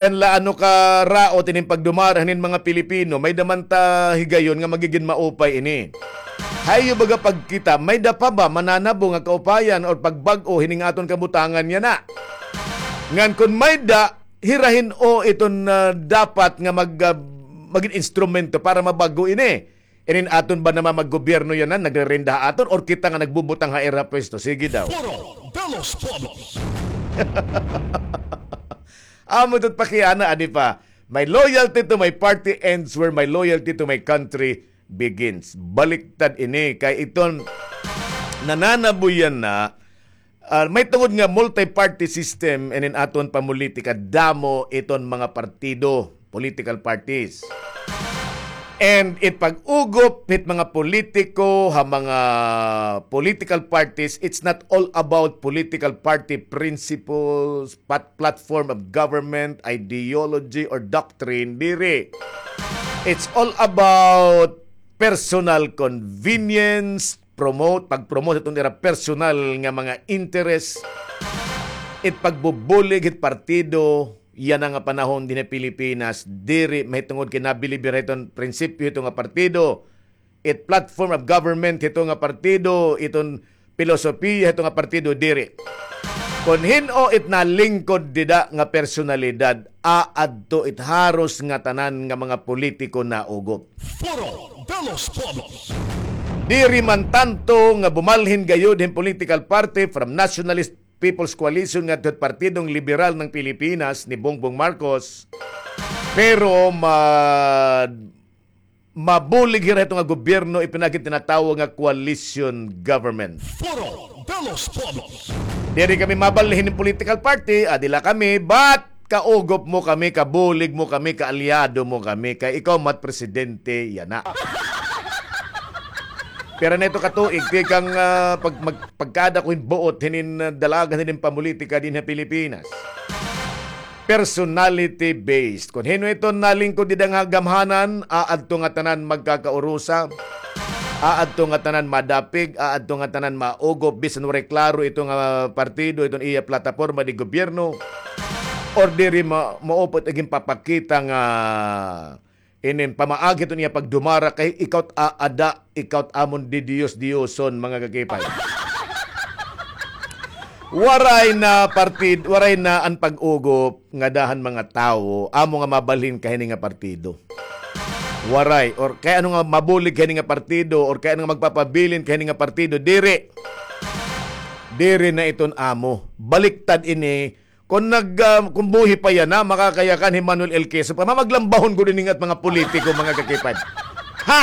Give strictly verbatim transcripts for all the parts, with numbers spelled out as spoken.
An la ano ka raot inin pagdumara hinin mga Pilipino, may-ada man ta higayon nga magigin maupay ini. Hayo baga pagkita, may-ada pa ba mananabo nga kaupayan or pagbag-o hining aton kabutangan yana? Ngan kon may-ada, hira hin-o iton, ah, dapat nga mag-, ah, magin instrumento para mabag-o ini? Inin aton ba naman maggobyerno yana, nagrerenda ha aton, or kita nga nagbubutang ha ira pwesto? Sige daw. Foro de los Pueblos. Amo ito't pakiana, adi pa. My loyalty to my party ends where my loyalty to my country begins. Baliktad ini, kay iton nananabuyan na, ah, may tungod nga multi-party system inin aton pamulitika, damo iton mga partido, political parties. And it pag-ugop hit mga politiko ha mga political parties, it's not all about political party principles, pat-, platform of government, ideology, or doctrine, diri. It's all about personal convenience, promote, pag-promote iton ira personal nga mga interest, it pagbubulig hit partido, yana nga panahon dinhi ha Pilipinas, diri mahitungod kay nabilib hira hiton prinsipyo hito nga partido, it platform of government hito nga partido, iton pilosopiya hito nga partido, diri. Kon hin-o it nalingkod dida nga personalidad, aadto it haros ngatanan nga mga politiko naugop. Foro de los Pueblos. Diri man tanto nga bumalhin gayod hin political party from Nationalist People's Coalition ngadto hit Partidong Liberal ng Pilipinas ni Bongbong Marcos, pero ma-, mabulig hira hito nga gobyerno, ipinaagi hin tinatawag nga coalition government. Foro de los Pueblos. Diri kami mabalhin hin political party, adi la kami, but kaugop mo kami, kabulig mo kami, kaalyado mo kami, kay ikaw mat presidente yana. Pira na ito ka tuig, tikang, ah, pag-, mag-, pagkada ko hin buot hinin, ah, dalagan hinin pamulitika dinhi ha Pilipinas. Personality based. Kon hin-o iton nalingkod dida nga gamhanan, aadto ngatanan magkakaurusa, aadto ngatanan madapig, aadto ngatanan maugop, bisan waray klaro ito nga partido, iton iya plataporma de gobyerno, or diri ma-, maupay it ginpapakita nga inin pamaagi hiton iya pagdumara kay ikaw it aada, ikaw it amon didiyos-diyoson, mga kakipay. Waray na partid-, waray na an pag-ugop ngada han mga tawo, amo nga mabalhin ka hini nga partido. Waray, or kay ano nga mabulig ka hini nga partido, or kay ano nga magpapabilin ka hini nga partido, diri. Diri na iton amo. Baliktad ini, Kon nag-, ah, kon buhi pa yana, makakayakan hi Manuel L. Quezon pa, mamaglambahon gud ini nga mga politiko, mga kakipay. Ha?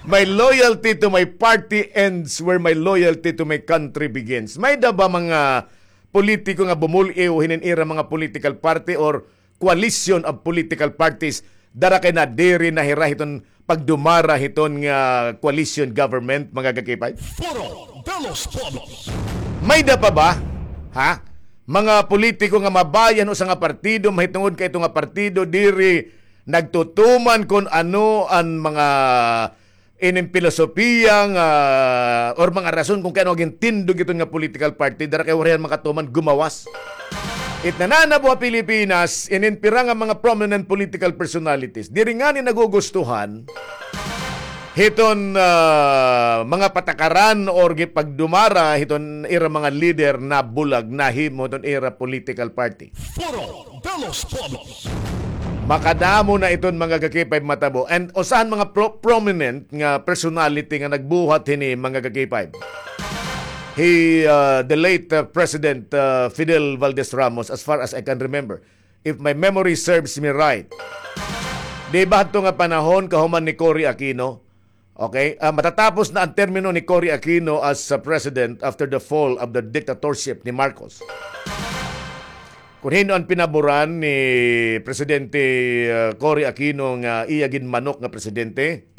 My loyalty to my party ends where my loyalty to my country begins. May-ada ba mga politiko nga bumul-iw hinin ira mga political party or coalition of political parties, dara kay nadiri na hira hiton pagdumara hiton nga coalition government, mga kakipay? Foro de los Pueblos. May-ada pa ba, ha? Mga politiko nga mabayan usa nga partido, mahitungod kay ito nga partido diri nagtutuman kon ano an mga inin pilosopiya nga, or mga rason kon kay ano gintindog iton nga political party, dara kay waray han makatuman, gumawas. It nananabo ha Pilipinas, inin pira nga mga prominent political personalities, diri ngani nagugustuhan hiton, ah, mga patakaran or gipagdumara hiton ira mga lider, nabulag, nahimo hiton ira political party. Foro de los Pueblos. Makadamo na iton, mga kakipay, matabo. And usa han mga pro-, prominent nga personality nga nagbuhat hini, mga kakipay, hi, ah, the late, ah, President, ah, Fidel Valdez Ramos, as far as I can remember. If my memory serves me right, di ba hadto nga panahon kahuman ni Cory Aquino, okay? Ah, matatapos na an termino ni Cory Aquino as, ah, president after the fall of the dictatorship ni Marcos. Kon hin-o an pinaboran ni Presidente, ah, Cory Aquino nga iya ginmanok nga presidente?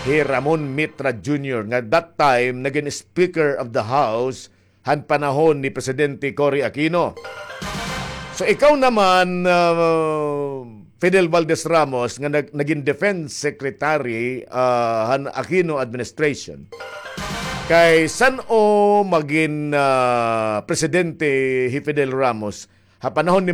Hi Ramon Mitra Junior, nga that time nagin Speaker of the House han panahon ni Presidente Cory Aquino. So, ikaw naman, ah, Fidel Valdez Ramos, nga nag-, nagin Defense Secretary, ah, han Aquino administration. Kay san-o magin, ah, presidente hi Fidel Ramos Ha panahon ni